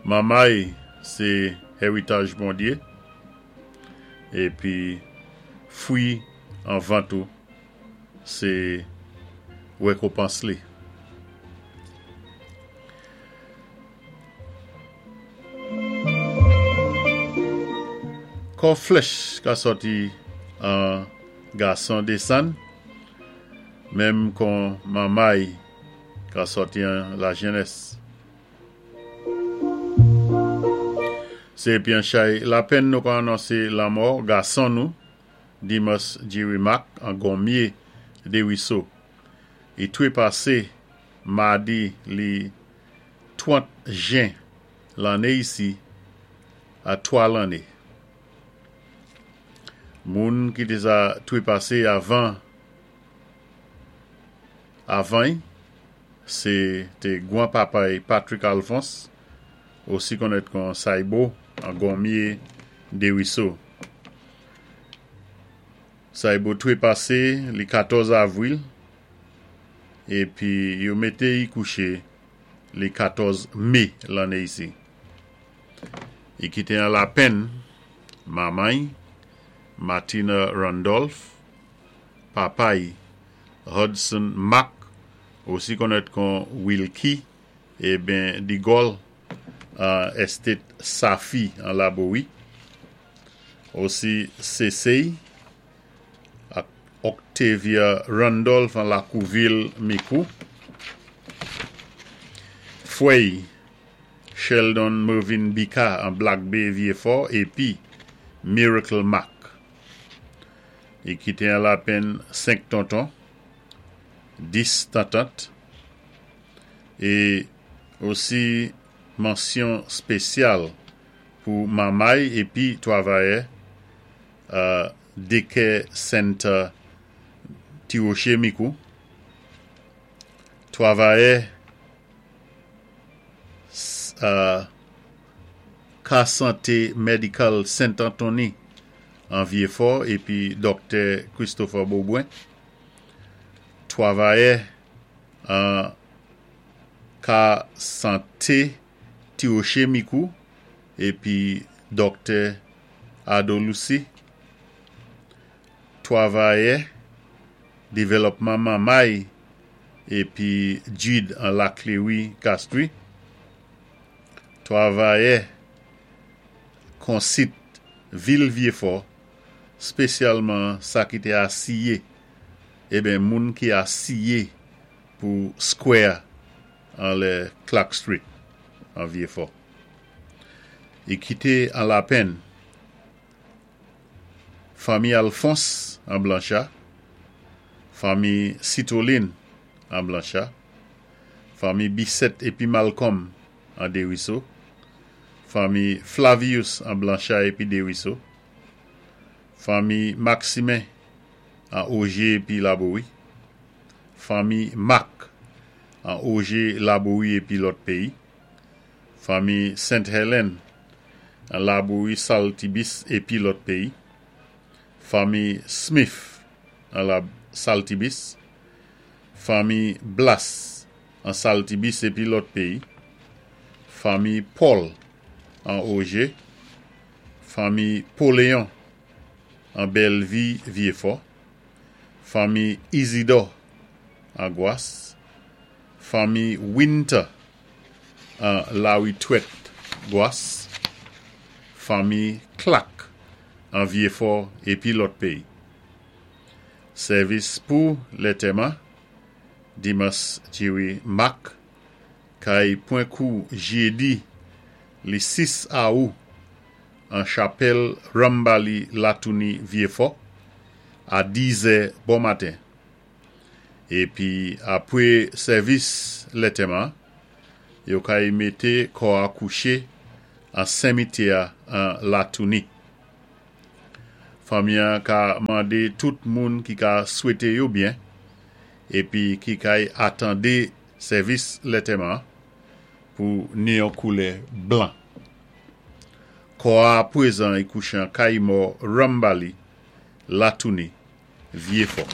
Manmay sé hèwitaj Bondyé, épi fwi an vant ou sé wékonpans li. Kò flèch ka sòti an gason désann, menm kon manmay ka sòti an lajènès. Sé épi an chay lapenn nou ka anonsé lanmò gason nou, Dimas Jerry Marc an Gonmye Deriso. I twépasé madi li 30 jen lanné isi a 3 lanné. Moun ki té sa twépasé avan avan-y Sé té gwan papa-y Patrick Alphonse, osi konnèt kon Saybo an Gonmye Deriso. Saybo twépasé li 14 avril épi yo mété-y kouché li 14 mé lanné isi. I kité an lapenn manman-y, Martina Randolph, papa-y, Hudson Mack, osi konnèt kon Wilky, eben Digòl an Estate Safi an Labowi, osi Sesey ak Octavia Randolph an Lakouvil Mikou, Fwèy Sheldon Mervin Bika an Black Bay Vyefò épi Miracle Mack. I kité an lapenn 5 tonton, 10 tantant é osi mansyon spésyal pou manmay épi twavayè Daycare Center Ti Woché Mikou, twavayè Ka Santé Medical Saint Anthony an Vyefò épi Dòktè Christopher Beaubrun, twavayè an Ka Santé Ti Woché Mikou épi Dòktè Ado Lucy, twavayè Devèlòpman Manmay épi Jude an Laklewi Castries, twavayè Konsit Vil Vyefò, spésyalman sa ki té asiyé, eben moun ki asiyé pou Square anlè Clark Street an Vyefò. I kité an lapenn fanmi Alphonse an Blancha, fanmi Citoline an Blancha, fanmi Bisset épi Malcolm an Deriso, fanmi Flavius an Blancha épi Deriso, fanmi Maximin an Ogé épi Labowi, fanmi Marc an Ogé, Labowi épi lòt péyi, fanmi Saint Helen an Labowi, Saltibis épi lòt péyi, fanmi Smith an la Saltibis, fanmi Blas an Saltibis épi lòt péyi, fanmi Paul an Ogé, fanmi Poléon an Bèlvi Vyefò, fanmi Isidor an Gwas, fanmi Winter an Laritwèt Gwas, fanmi Clack an Vyefò épi lòt péyi. Sèvis pou lètèman, Dimas Jerry Marc, kay pwan kou jédi li 6 awou an chapèl Rambali Latouni Vyefò a 10 zè bon maten. Épi apwé sèvis lètèman, yo kay mété kò a kouché an senmityè an Latouni. Fanmi an ka mandé tout moun ki ka swété yo byen épi ki kay atandé sèvis lètèman pou ni yon koulè blan. Kò a pwézan i kouché an kay mò Rambali, Latouni, Vyefò.